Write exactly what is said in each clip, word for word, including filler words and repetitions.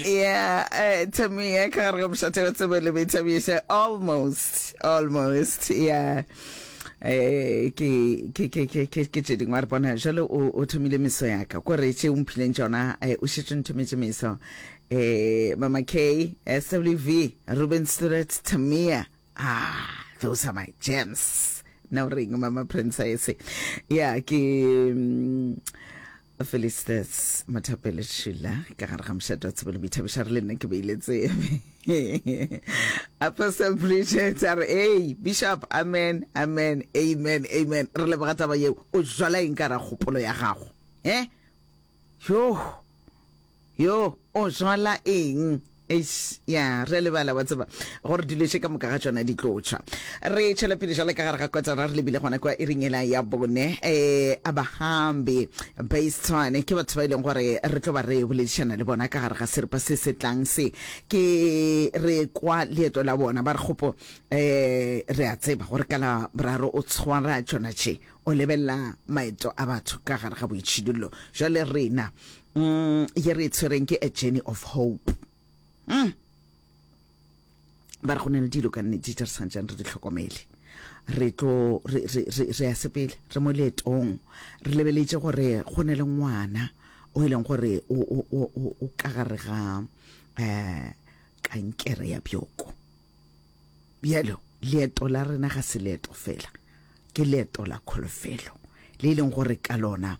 Yeah, uh, Tamia ka gare ga mošate wa tsebo le boithabišo. Almost, almost, yeah. Eh, ke ke ke ke ke ke tše dingwe a re bona jalo o o thomile meso ya ka kore tše o mphileng tšona eh, o šetše o nthometše meso eh Mama K S W V Ruben Stuart Tamia. Ah, those are my gems. Na o reng, Mama Princess? Yeah, ke mm, Felistus Mothapele Šula ka gare ga mošate wa tsebo le boithabišo. Re le nna ke beile tsebe. Apostle Bridget a re, "Hey Bishop, amen, amen, amen, amen." Re leboga taba yeo. O jwala eng ka ra kgopolo ya gago, eh yo yo o jwala eng? Eish, ya re lebala wa tseba gore dilo tše ka moka ga tšona di tlo tšwa. Re tšwela pele jale ka gare ga kotara, re lebile gona kwa iring ela ya bone. um Abahambi Based ke batho ba e leng gore re tlo ba re boledišana le bona ka gare ga seripa se se tlang se. Ke re kwa leeto la bona, ba re kgopo um re a tseba gore ka la boraro o tshwara tšona tše, o lebelela maeto a batho ka gare ga boitšhidullo. Jale rena mm, ye re e tshwereng ke A Journey of Hope. mm. ba re go na le dilo ka nnete tše re santšeng re di hlokomele. Re tlo re re re re ya sepele, re mo leetong, re lebeletše gore go ne le ngwana o e leng gore o o o o o ka gare ga um kankere ya bjoko. Bjalo leeto la rena ga se leeto fela, ke leeto la kholofelo le e leng gore ka lona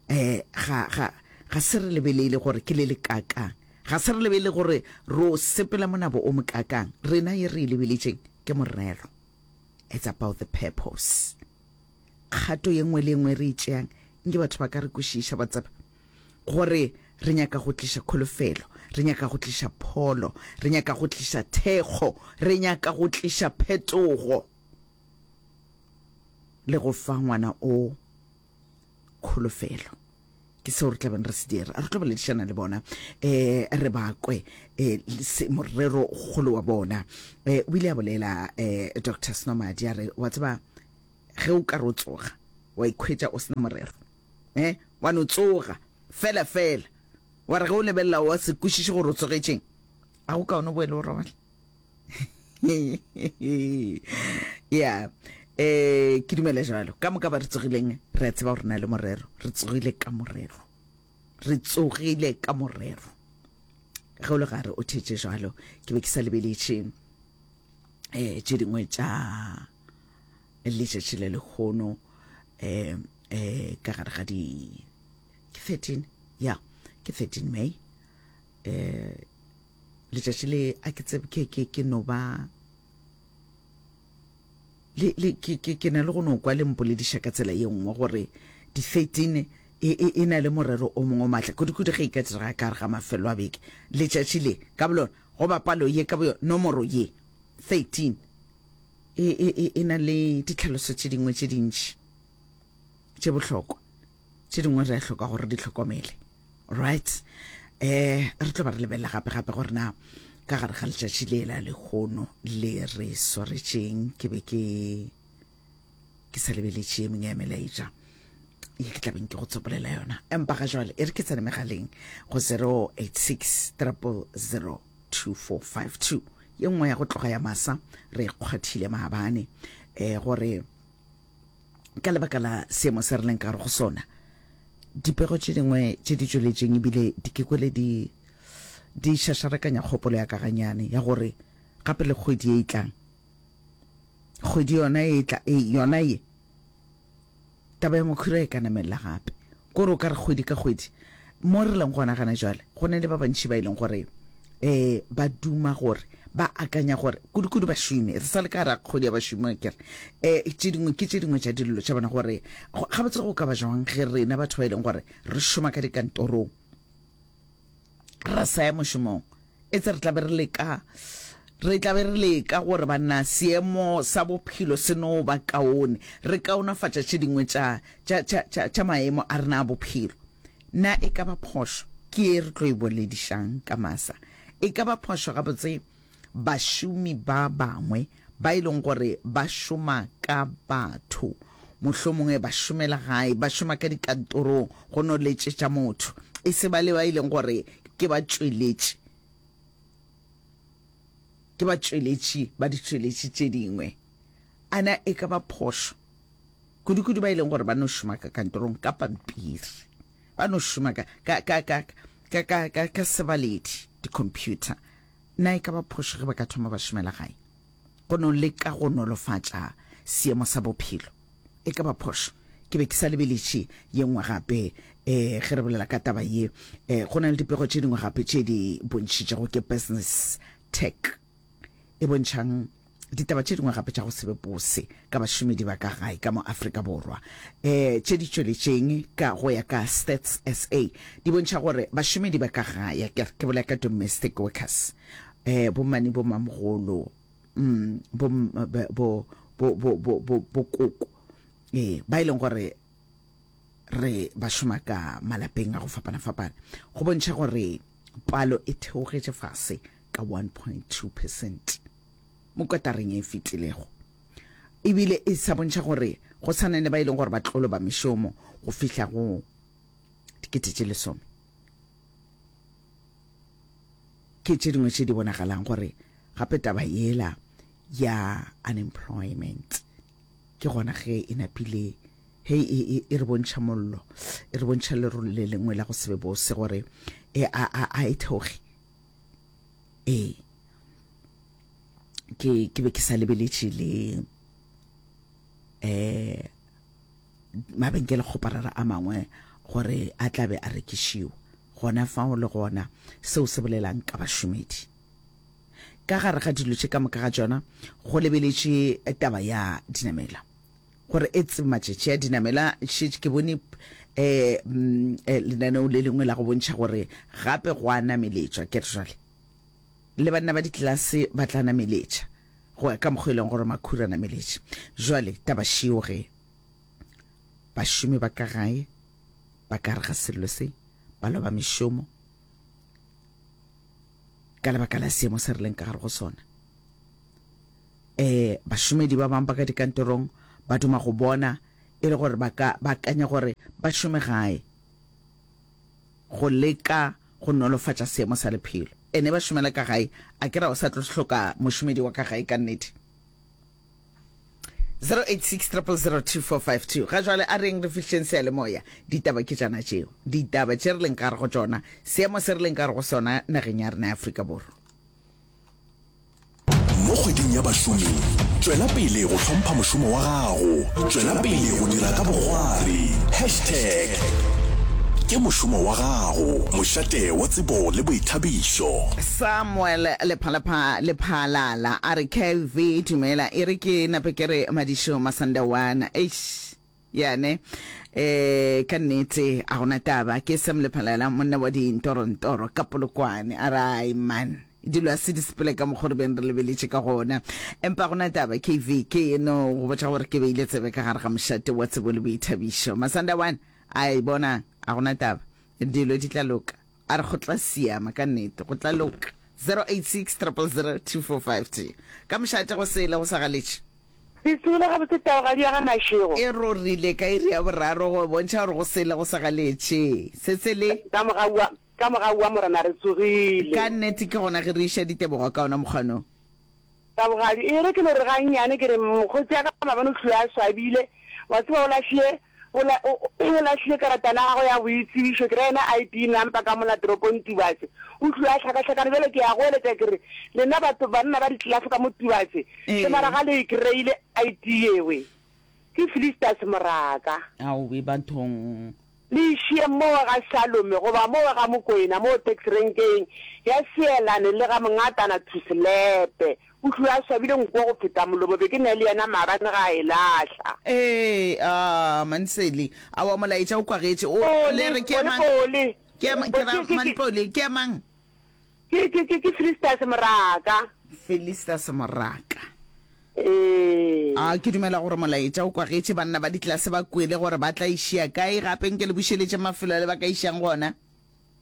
um ga ga ga se re lebelele gore ke le le kakang, ga se re lebelele gore ro sepela monabo o mokakang. Rena ye re e lebeletšeng ke morero. It's about the purpose. Kgato ye nngwe le ye nngwe re e tšeang, nke batho ba ka re kwešiša, ba tseba gore re nyaka go tliša kholofelo, re nyaka go tliša pholo, re nyaka go tliša thekgo, re nyaka go tliša phetogo le go fa ngwana o kholofelo. Ke seo re tlabeng re se dira. Re tlo boledišana le bona, um re ba kwe um morero kgolo wa bona. um o ile a bolela um Doctor Snomadi a re, wa tseba, ge o ka re o tsoga wa ikhwetša o sena morero, um wa no tsoga fela fela, wa re ge o lebelela wa se kwešiše gore o tsogetšeng, a go kaone o boele o robale. Ya, eh ke dumela jalo. Ka moka ba re tsogileng re a tseba gore na le morero, re tsogile ka morero, re tsogile ka morero. Ge o le gare o thetše jalo, ke be ke sa lebeletše um tše dingwe tša letšatši le lekgono um um ka gare ga di ke thirteen, ya, ke thirteen May. um letšatši le a ke tsebe, ke ke ke no ba le le ke ke ke na le go no kwa le mpolediša ka tsela ye nngwe gore di thirteen e e e na le morero o mongwe o maatla kudu-kudu ge e ka direga ka gare ga mafelo a beke. Letšatši le ka bolona goba palo ye ka boyona, nomoro ye thirteen e e e e na le ditlhaloso tše dingwe tše dintši tše bohlokwa, tše dingwe re a hloka gore di hlokomele. Right, eh re tlo ba re lebelela gape gape gore na ka gare ga letšatši le la lekgono le re swaretšeng. Ke be ke ke sa lebeletše ye mengwe ya melaetša ye ke tlabeng ke go tsopolela yona, empa ga jwale e re ke tsene megaleng go zero eight six triple zero two four five two. Ye nngwe ya go tloga ya masa re kgwathile maabane um gore ka lebaka la seemo se re leng ka gare go sona, dipego tše dingwe tše di tšweletšeng ebile di ke kwele di di šašarakanya kgopolo ya ka ganyane ya gore gape le kgwedi ye e tlang, kgwedi yona e tla e yona ye, taba ya makhura e ka namelela gape. Kore o ka re kgwedi ka kgwedi mo re leng gona gana jwale, go ne le ba bantši ba e leng gore um ba duma gore ba akanya gore kudu-kudu bašomi, re sa le ka ra kgwedi ya bašomi, kere um tše dingwe ke tše dingwe tša dillo tša bona gore gabotse go ka ba jwang ge rena batho ba e leng gore re šoma ka dikantorong ra sa ya mošomong, e tse re tla be re leka re tla be re leka gore banna seemo sa bophelo se no ba kaone, re kaonafatša tše dingwe tša tša tša tša tša maemo a rena a bophelo. Na e ka ba phošo? Ke e re tlo e boledišang ka masa. E ka ba phošo gabotse bašomi ba bangwe ba e leng gore ba šoma ka batho, mohlomongwe ba šomela gae, ba šoma ka dikantorong go no letšetša motho, e se ba le ba e leng gore ke ba tšweletši? Ke batšweletši ba ditšweletši tše dingwe. A na e ka ba phošo? Kudu-kudu ba e leng gore ba no šoma ka kantorong ka pampiri, ba no šoma ka, ka, ka, ka, ka, ka, ka, ka sebaledi, di-computer. Na e ka ba phošo ge ba ka thoma ba šomela gae? Go no leka go nolofatša seemo sa bophelo. E ka ba phošo? Ke be ke sa lebeletše ye nngwe gape, eh, ge re bolela ka taba ye. Eh, go na le dipego tše dingwe gape tše di bontšhitšego ke Business Tech e bontšhang ditaba tše dingwe gape tša go se be bose ka bašomedi ba ka gae ka mo Afrika Borwa. Um tše di tšweletšeng ka go ya ka Stats S A di bontšha gore bašomedi ba ka gae, ke ke bolela ka domestic workers, um bommane, bommamogolo, mm, bo bo bo bo bo bo bokoko, ee, ba e leng gore re ba šoma ka malapeng a go fapana-fapana, go bontšha gore palo e theogetše fase ka one point two percent mo kotareng e fetilego. Ebile e sa bontšha gore go sa na le ba e leng gore ba tlo loba mešomo go fihla go dikete tše lesome. Ke tše dingwe tše di bonagalang gore gape taba yela ya unemployment ke gona ge e napile he e, e, e re bontšha mollo, e re bontšha lerole le lengwe la go se be bose gore e a, a, a e theoge. Ee, ke, ke be ke sa lebeletše le eh mabenkelekgoparara a mangwe gore a tla be a rekišiwa gona fao le gona. Seo se bolelang ka bašomedi? Ka gare ga dilo tše ka moka ga tšona go lebeletše taba ya dinamela gore e tsebe matšatši a dinamela. Šetše ke bone um lenaneo le lengwe la go bontšha gore gape go a nameletšwa. Ke re jwale le banna ba ditlelase ba tla nameletša go ya ka mokgwa e leng gore makhura nameletše. Jwale taba šeo ge bašomi ba ka gae ba ka re ga sello se ba loba mešomo ka lebaka la seemo se re leng ka gare go sona. Um bašomedi ba bangwe ba ka dikantorong ba duma go bona e le gore ba ka ba akanya gore ba šome gae go leka go nolofatša seemo sa lephelo. Ene ba šomela ka gae, a ke ra o sa tlo hloka mošomedi wa ka gae ka nnete. zero eight six triple zero two four five two Ga jwale a reng re fihleng seyalemoya. Ditaba ke tšana tšeo, ditaba tše re leng ka gare go tšona, seemo se re leng ka gare go sona nageng ya rena ya Afrika Borwa. Mo kgweding ya bašomi, tšwela pele go hlompha mošomo wa gago, tšwela pele go dira ka bokgwari. Hashtag ke mošomo wa gago, mošate wa tsebo le boithabišo. Samuel Lephalapha Lephalala a re, K V dumela, e re ke nape ke re Madišo Masandawana. Eish, ya ne, eh, ka nnete a gona taba. Ke Sam Lephalala, monna wa dintorontoro ka Polokwane. A re, ai man, dilo a se di sepele ka mokgo re beng re lebeletše ka gona. Empa gona taba, K V, ke no go botša gore ke beile tsebe ka gare ga mošate wa tsebo le boithabišo. Masandawana, ai bona, a gona taba, dilo di tla loka. A re go tla siama ka nnete, go tla loka. zero eight six triple zero two four five two Ka mošate go sele go sa galetše. Ke tsogile gabotse taogadi ya ga Mashego. E rorile ka iri ya boraro go bontšha gore go sele go sa galetše. Se se le. Ka mogau wa, ka mogau wa Morena re tsogile. Ka nnete ke gona ge re iša ditebogo ka ona mokgwa no. Taogadi, E re ke no re gannyane ke re mokgotsi ya ka maabane o hlile a swabile. Wa tseba o lahlile, o la, o, o lahlile karatana ya gagwe ya boitsebišo, ke ra yena I D number ka mola toropong Tubatse. O hlile a hlakahlakane. Bjale ke a goeletša ke re, lena batho, banna ba ditlelase ka mo Tubatse, hle mara Ee. ga le e kry-ile I D yewe. Ke Felistas Moraka. Aowi bathong. Le išie mowe ga Shalome, goba mowe ga Mokoena, moo taxi-renkeng ya Seelane le ga Mongatana Thuselepe. O hlile a swabile nko go feta molomo, be ke na le yena maabane ga a e lahla. Ee, aa, Manseli. Aowa, molaetša o kwagetše. O, Pole, le re ke ya Pole, mang? Pole. Ke ya, ke ra Ke, ke, ke. Manpole, ke ya mang? Ke, ke, ke, ke Felistas Moraka. Felistas Moraka. Ee. A ke dumela gore molaetša o kwagetše, banna ba ditlelase ba kwele gore ba tla išia kae gape. Nke le bušeletše mafelo ale ba ka išang gona.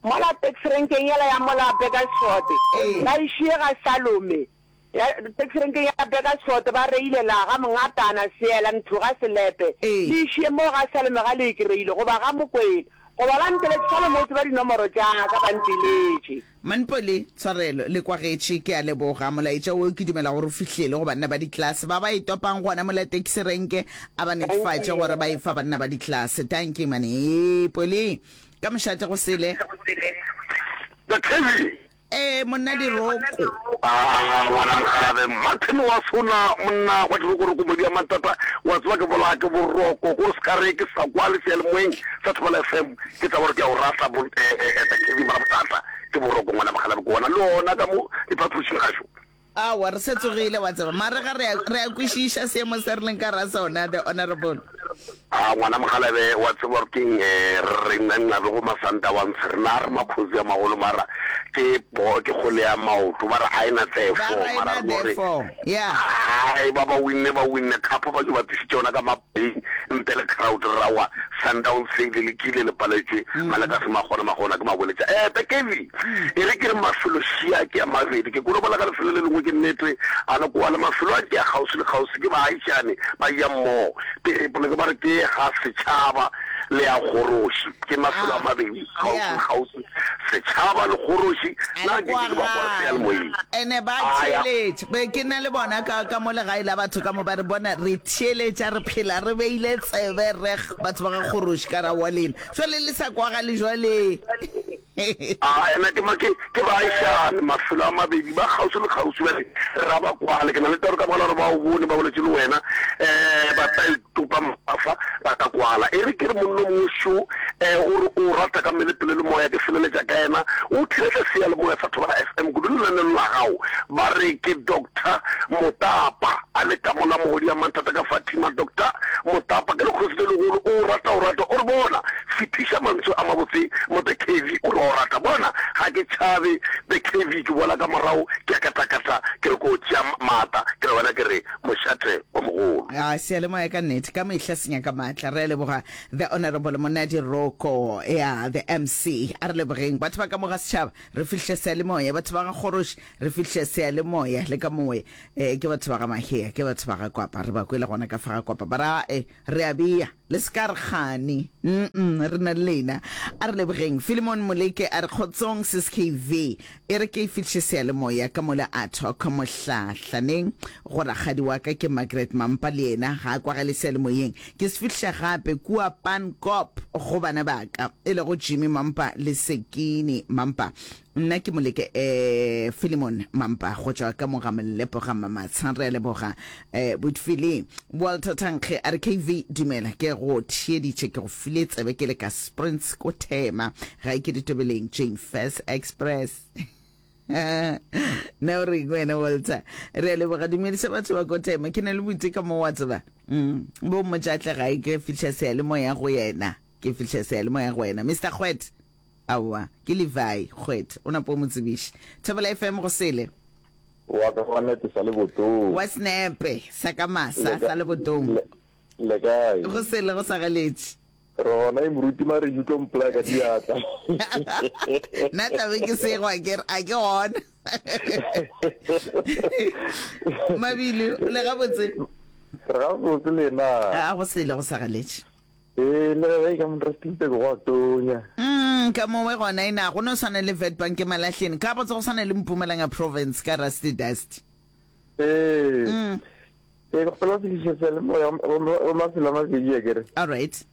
Mola taxi-renkeng yela ya mola Bakersford, Ee. ba išie ga Salome. Ya taxi-renkeng ya Bakersford ba reile la ga Mongatana, Seela, Nthuga, Selepe. Ee. Le išie moo ga Salome ga le e kry-ile, goba ga Mokwena, Goba ba nteletše fale mo tseba dinomoro tša ka ba nteletše. Manpole, Tshwarelo, le kwagetše, ke a leboga. Molaetša wo ke dumela gore o fihlile go banna ba diklase ba ba e topang gona mola taxi renke, a ba netefatše gore ba e fa banna ba diklase. Dankie Manpole. Ka mošate go sele. The Kevin. Ee, monna Diroko. Ah, ngwana Nkgarabe, Martin wa sona, monna wa dirokoroko modi ya matata, wa tseba ke bolaya ke boroko, ko se ka re ke sa kwa le seyalemoyeng sa Thobela F M, ke taba gore ke a o rata bo, eh, eh, eh, The Kevin, mara bothata ke boroko ngwana Mokgalabe, ke bona le ona ka mo diphapošing gašo. Aowa, re se tsogile, wa tseba. Mare ga re a, re a kwešiša seemo se re leng ka ra sona, The Honourable. A, ngwana Mokgalabe, wa tseba gore keng, eh, re re nna be go Masandawantshe, rena re makhosi a magolo, mara ke po, ke kgole ya maoto, ba re a e na Ba therefore, re a e mara na re no re, therefore, yeah. Hai, ba ba winne, ba winne cup, ba tšo ba tlišitše yona ka mapeng, ntle le crowd, re ra wa, Sundowns e le lekile, le paletšwe, Malekase Magona, Magona ke maboletša. Eh, The Kevy, E re ke re mafelo šia ke a mabedi. Ke kolobola ka lefelo le lengwe ke nnete, a le koa le mafelo a ke a kgauswi le kgauswi ke baagišani ba eya mmogo. Pele poleke ba re ke ga setšhaba le ya kgoroši. Ke mafelo a mabedi kgauswi le kgauswi, setšhaba le kgoroši. A Na le ke ke ba kwa seyalemoyeng? kwagala. Ene ba A ya. theeletša. Be ke na le bona ka, ka mo legae la batho ka mo ba re bona re theeletša, re phela re beile tsebe reg batho ba ga kgoroši ka ra wa lena. Jwale le sa kwagale jwale. A ena ke ma ke ke baagišane, mafelo a mabedi, ba kgauswi le kgauswi. Bjale ra ba kwale. Ke na le toro ka baka la gore ba o bone, ba boletše le wena. Um ba tla itopa mafa, ba tla kwala. E re ke re monna o mongwe šo, um o re o rata ka mmele, pelo le moya, ke feleletša ka yena. O theetša seyalemoya sa Thobela F M kudu lenaneo la gago. Ba re ke Doctor Motapa, a le ka mola mogodi ya Manthata ka Fatima. Doctor Motapa ke lekgosi le legolo, o rata o rata, o re bona, Fetiša mantswe a mabotse mo The Cavey o re wa o rata. Bona, ga ke tšhabe The Cavey, ke boela ka morago ke a katakata, ke re ko tšea maata, ke re wena ke re mošate o mogolo. A seyalemoya ka nnete ka mehla se nyaka maatla. Re a leboga The Honourable Monadi Roko, ya The M C. A re lebogeng batho ba ka mo ga setšhaba, re fihle seyalemoya, batho ba ga Kgoroši, re fihle seyalemoya le ka mowe. Eh, ke batho ba ga Mahea, ke batho ba ga Kwapa, re ba kwele gona ka fa ga Kwapa. Ba ra, eh, re a bea. Le se ka re kgane. Mm-mm, re na le lena. A re lebogeng. Philemon Moleke a re, Kgotsong Sis K V. E re ke e fihliše seyalemoya ka mola a talk mohlahlaneng go rakgadi wa ka ke Margaret Mampa le yena ga a kwagale seyalemoyeng. Ke se fihliša gape kua Pankop go bana ba ka e lego Jimmy Mampa le Sekini Mampa. Nna ke Moleke eh Philemon Mampa go tšwa ka mo ga Molepo ga Mamatsha. Re a leboga eh Botfili. Walter Thankge a re K V dumela ke go theeditše ke go file tsebe ke le ka Sprints ko Thema ga e ke ditobeleng Jane Furse Express. Na o reng wena Walter? Re a leboga dumedisa batho ba ko Thema ke na le boite ka mo wa tseba. Mm bo mmotša tle gae ke fihla seyalemoya go yena. Ke fihla seyalemoya go wena Mister Kgwete. Aowa, ke Levi Kgwete, o napo o mo tsebiše. Thobela F M go sele. Wa ka wa nete sa lebotong. Wa senepe sa ka masa sa lebotong. Le, le kae? Go sele go sa galetše. Re gona e moruti mare you tlo mpolaya ka diatla. Nna tlabe ke segwa ke re a ke gona. Mabili, le gabotse? Re gabotse lena. A go sele go sa galetše. Ee, le ge ka mo Rustenburg go a tonya. Mm, ka mowe gona e na go no swana le Witbank Malahleni. Ka botse go swana le Mpumalanga province ka Rusty Dust. Ee. Mm. Ee, ke kgopela go fihliša seyalemoya go mafelo a mabedi a kere. All right.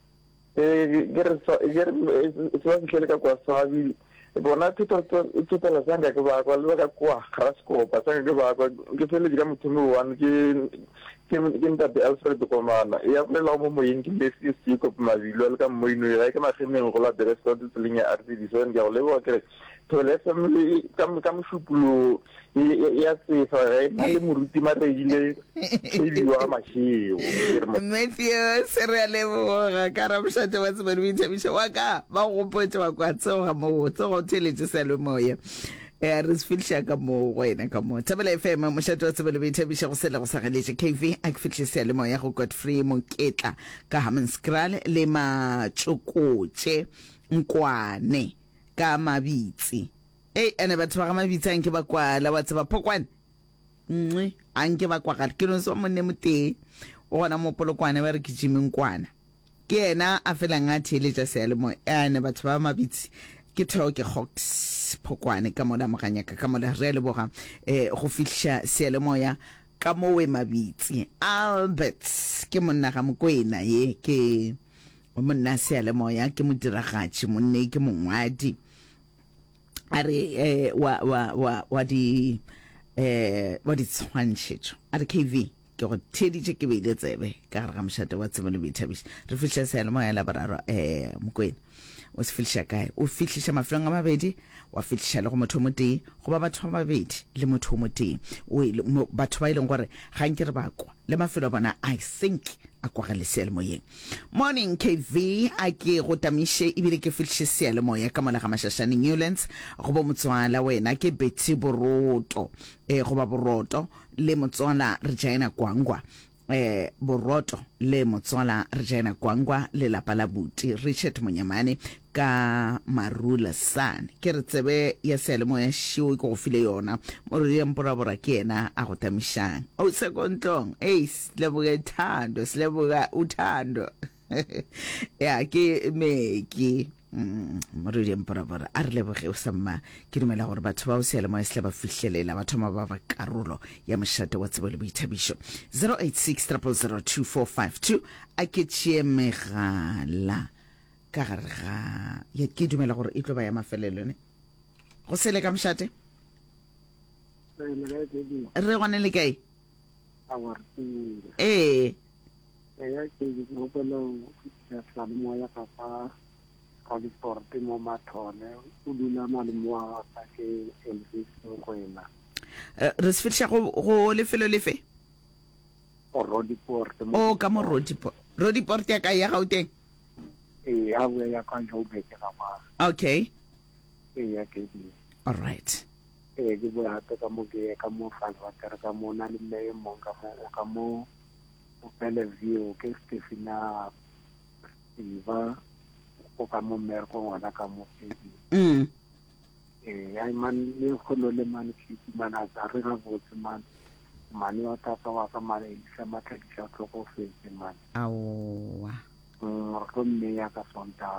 Ee, ke re ke re se ba fihlele ka kwa Swabi. Bona thotela sanka ke ba kwa le ba ka kwa Graskop sanka ke ba kwa ke feletše ka mothomi one ke ke ke ntate Alfred Komana ya bolelago mo moyeng ke Matthews Jacob Mabilo a le ka mmoino gae ke Magemeng go la Beresford tseleng ya R thirty seven ke a go leboga ke re Thobela F M ka ka mošupologo ya tsefa ge na le moruti Maredile K B wa Mašego ke re Matthews re a leboga ka ramošate wa tsebo le boithabišo wa ka ba go gopotše wa kwa tsoga moo tsoga o theeletše seyalemoya eh re se fihliša ka moo go wena ka moo Thobela F M mošate wa tsebo le boithabišo go sele go sa galetše K V a ke fihliše seyalemoya go Godfrey Moketla ka Hammanskraal le Matšokotše Nkwane ka Mabitsi. Ei, ene batho ba ga Mabitsi a nke ba kwala, wa tseba, Phokwane. Nngwe, a nke ba kwagala. Ke no se wa monne motee. O gona mo Polokwane ba re ke Jimmy Nkwana. Ke yena a felang a theeletša seyalemoya. Ene batho ba Mabitsi ke theo ke Hawks Phokwane ka mola Moganyaka ka mola. Re a leboga eh go fihliša seyalemoya ka mowe Mabitsi. Albert ke monna ga Mokwena ye ke monna seyalemoya ke modiragatši monne ke mongwadi a re eh, wa wa wa wa di eh wa ditshwantšhetšo a re K V ke go theeditše ke beile tsebe ka gare ga mošate wa tsebo le boithabišo re fihliša seyalemoya la boraro eh Mokwena o se fihliša kae o fihliša mafelong a mabedi wa fihliša le go motho o motee goba batho ba babedi le motho o motee o e batho ba e leng gore ga nke re ba kwa le mafelo a bona I think a kwagale seyalemoyeng. Morning K V a ke go tamiše ebile ke fihliše seyalemoya ka mola ga Mashashane Newlands go bo motswala wena ke Betty Boroto eh goba Boroto le motswala Regina Kwangwa eh Boroto le motswala Regina Kwangwa le lapa la buti Richard Monyamane ka Marula San. Ke re tsebe ya seyalemoya šeo ke go file yona. Morwedi ya Mporabora ke yena a go tamišang. O sekontlong. Ei, sileboge thando, sileboga uthando. Ya ke meki. Mm, Morwedi ya Mporabora a re leboge o sa mma. Ke dumela gore batho bao seyalemoya se tla ba fihlelela ba thoma ba ba karolo ya mošate wa tsebo le boithabišo. zero eight six triple zero two four five two a ke tšee megala. Ka gare ga ye ke dumela gore e tlo ba ya mafelelo ne go sele ka mošate. Re gone le kae? Ee. Eya ke ke gopela go fetiša seyalemoya ka fa Roodepoort mo Mathole o dula malome wa ka ke Elvis Mokwena. Re se fetiša go go lefelo lefe? Roodepoort mo. O ka mo Roodepoort. Roodepoort ya kae ya Gauteng? Ee, a boya ya kwa Joburg ga kwa. Okay. Ee, ya ke di. All right. Ee, ke boya gape ka mo ke ye ka mo Vaalwater ka mo na le mme e mong ka mo o ka mo o Bellevue ke Stefina Siva o ka mo mmerekong gona ka mo Pedi. Mm. Ee, ai man le kgono le man ke man a tsa re gabotse man. Mane wa tata wa ka man Elisa Matladiša o tlhokofetse man. Aowa. Mm, re tlo mmeya ka Sontaga.